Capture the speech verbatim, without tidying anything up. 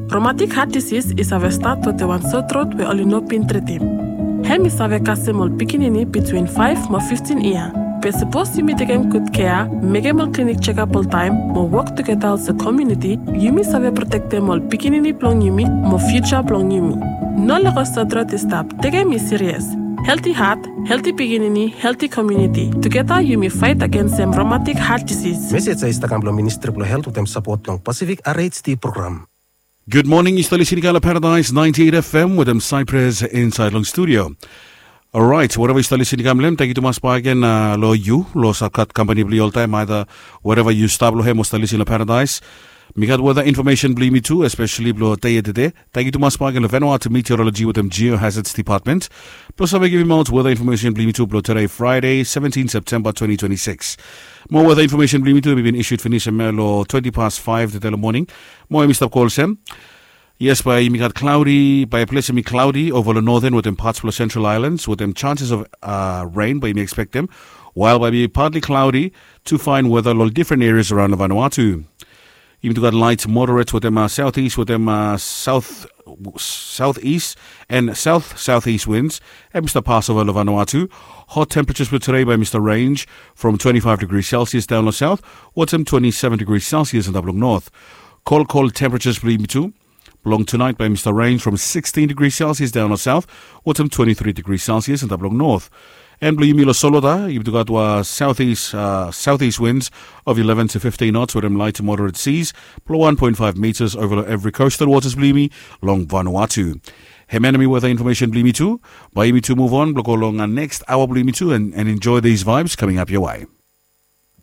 Romatik hat disis i save stat wetem wan sotrot we oli no bin tritim. Hem i save kasem ol pikinini bitwin faef mo fiftin yia. Be sapos yumi tekem gud kea, mekem ol klinik jekap oltaem mo wok tugeta olsem komuniti, yumi save protektem ol pikinini blong yumi mo fiuja blong yumi. No lego sotrot i stap, tekem i sirias. Helti hat, helti pikinini, helti komuniti. Tugeta yumi faet agensem romatik hat disis. Mesej ya i stap kam blong Ministri blong Helt wetem sapot blong Pasifik R H D program. Gud moning, yu stap lisin i kam long Paradise ninety eight F M wetem Cyprus insaed long studio. Orait, wereva yu stap lisin i kam long hem, tangkiu tumas bakegen long yu long sapkap kampani blong yu oltaem, aeda wereva yu stap long hem o stap lisin long Paradise. Mi gat weta infomesen blong yumi tu, espeseli blong dei ya tede. Tangkiu tumas bakegen long Vanuatu Meteorology wetem Geohazards Department blong save givim aot weta infomesen blong yumi tu blong tede, Fraede, seventin Septemba twenty twenty-six. Mo weta infomesen blong yumi tu i bin issued finis hemia long twenti pas faef tede long moning. Mo hem i stap go olsem. Yes, bae yumi gat cloudy, bae ples hemi cloudy ova long Northern wetem pats blong Central Islands wetem chances of uh, rain bae yumi expectem. While bae be partly cloudy to fine weather long different areas around Vanuatu. Yumi tu gat light moderate wetem uh, southeast wetem uh, south southeast and south southeast winds. Hem i stap pas ova long Vanuatu. Hot temperatures blong tede bae i stap range from twenty-five degrees Celsius down long south wetem twenty-seven degrees Celsius antap long north. Cold, cold temperatures blong yumi tu blong tonight bae i stap range from sixteen degrees Celsius down long south wetem twenty-three degrees Celsius antap long north. And blong yumi long solwota, yumi tu gat wan southeast uh, southeast winds of eleven to fifteen knots wetem light to moderate seas blong one point five meters ova long evri coastal waters blong yumi long Vanuatu. Hemia nao hemi weta infomesen blong yumi tu. Bae yumi tu move on blong go long uh, next aoa blong yumi tu and, and enjoy these vibes coming up your way.